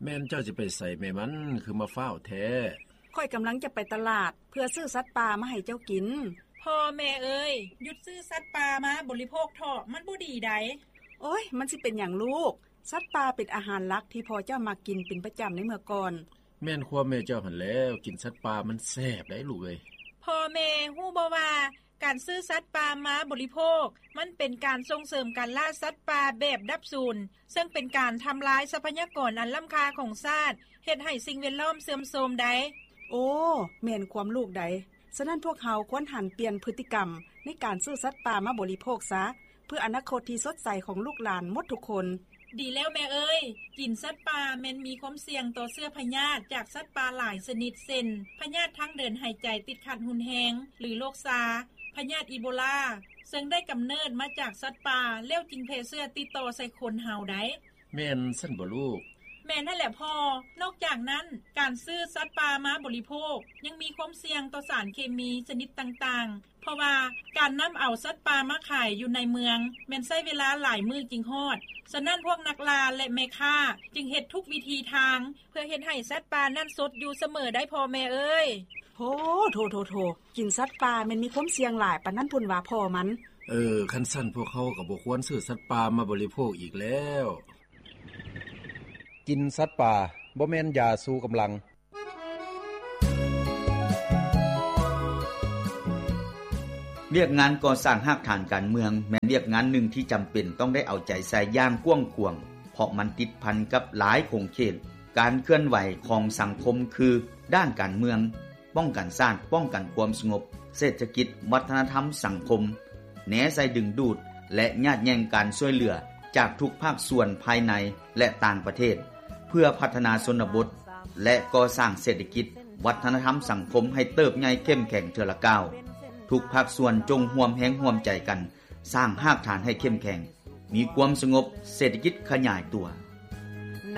ແມ່ນເຈົ້າຊິໄປໃສແມ່ມັນ ຄືມາຟ້າວແທ້? ຂ້ອຍກຳລັງຈະໄປຕະຫຼາດ ເພື່ອຊື້ສັດປ່າມາໃຫ້ເຈົ້າກິນ. ພໍ່ແມ່ເອີຍ, ຢຸດຊື້ສັດປ່າມາບໍລິໂພກເຖາະ, ມັນບໍ່ດີໃດ. ໂອ້ຍ, ມັນຊິເປັນຫຍັງລູກ? ສັດປ່າເປັນອາຫານຫຼັກທີ່ພໍ່ເຈົ້າມັກກິນເປັນປະຈຳໃນເມື່ອກ່ອນ. ແມ່ນຄວາມແມ່ເຈົ້າຫັ້ນແລ້ວ, ກິນສັດປ່າມັນແຊບໄດ໋ລູກເອີຍ. ພໍ່ແມ່ຮູ້ບໍ່ວ່າ ການຊື້ສັດປ່າມາບໍລິໂພກ ມັນເປັນການສົ່ງເສີມການລ່າສັດປ່າແບບດັບສູນ, ເຊິ່ງເປັນການທຳລາຍຊັບພະຍາກອນອັນລ້ຳຄ່າຂອງຊາດ, ເຮັດໃຫ້ສິ່ງແວດລ້ອມເສື່ອມໂຊມໄດ໋. ໂອ້, ແມ່ນຄວາມລູກໃດ. ສະນັ້ນພວກເຮົາຄວນຫັນປ່ຽນພຶດຕິກຳໃນການຊື້ສັດປ່າມາບໍລິໂພກຊະ, ເພື່ອອະນາຄົດທີ່ສົດໃສຂອງລູກຫຼານໝົດທຸກຄົນ. ດີແລ້ວແມ່ເອີຍ, ກິນສັດປ່າແມ່ນມີຄວາມສ່ຽງຕໍ່ເຊື້ອພະຍາດຈາກສັດປ່າຫຼາຍຊະນິດ ເຊັ່ນ ພະຍາດທາງເດີນຫາຍໃຈຕິດຂັດຮຸນແຮງ ຫຼື ໂລກຊາ, ພະຍາດອີໂບລາ, ເຊິ່ງໄດ້ກຳເນີດມາຈາກສັດປ່າ ແລ້ວຈຶ່ງແຜ່ເຊື້ອຕິດຕໍ່ໃສ່ຄົນເຮົາໄດ໋. ແມ່ນຊັ້ນບໍ່ລູກ? ແມ່ນຫັ້ນແຫຼະພໍ່. ນອກຈາກນັ້ນ, ການຊື້ສັດປ່າມາບໍລິໂພກ ຍັງມີຄວາມສ່ຽງຕໍ່ສານເຄມີຊະນິດຕ່າງໆ, ເພາະວ່າການນຳເອົາສັດປ່າມາຂາຍຢູ່ໃນເມືອງ ແມ່ນໃຊ້ເວລາຫຼາຍມື້ຈຶ່ງຮອດ. ສະນັ້ນພວກນັກລ່າ ແລະ ແມ່ຄ້າຈຶ່ງເຮັດທຸກວິທີທາງ ເພື່ອເຮັດໃຫ້ສັດປ່ານັ້ນສົດຢູ່ສະເໝີໄດ໋ພໍ່ແມ່ເອີຍ. ໂທ້ໆໆ ກິນສັດປ່າແມ່ນມີຄວາມສ່ຽງຫຼາຍປານນັ້ນພຸ້ນຫວາພໍ່ມັນ. ເອີ, ຄັນຊັ້ນພວກເຮົາກໍບໍ່ຄວນຊື້ສັດປ່າມາບໍລິໂພກອີກແລ້ວ. ກິນສັດປ່າບໍ່ແມ່ນຢາຊູກຳລັງ. ວຽກງານກໍ່ສ້າງຮາກຖານການເມືອງ ແມ່ນວຽກງານໜຶ່ງທີ່ຈຳເປັນຕ້ອງໄດ້ເອົາໃຈໃສ່ຢ່າງກວ້າງຂວາງ, ເພາະມັນຕິດພັນກັບຫຼາຍຂົງເຂດການເຄື່ອນໄຫວຂອງສັງຄົມ ຄື ດ້ານການເມືອງ, ປ້ອງກັນຊາດ, ປ້ອງກັນຄວາມສະຫງົບ, ເສດຖະກິດ, ວັດທະນະທຳ, ສັງຄົມ, ແນໃສ່ດຶງດູດ ແລະ ຍາດແຍ່ງການຊ່ວຍເຫຼືອຈາກທຸກພາກສ່ວນພາຍໃນ ແລະ ຕ່າງປະເທດ ເພື່ອພັດທະນາຊົນນະບົດ ແລະ ກໍ່ສ້າງເສດຖະກິດ, ວັດທະນະທຳ, ສັງຄົມໃຫ້ເຕີບໃຫຍ່ເຂັ້ມແຂງເທື່ອລະກ້າວ. ທຸກພາກສ່ວນຈົ່ງຮ່ວມແຮງຮ່ວມໃຈກັນສ້າງຮາກຖານໃຫ້ເຂັ້ມແຂງ, ມີຄວາມສະຫງົບ, ເສດຖະກິດຂະຫຍາຍຕົວ,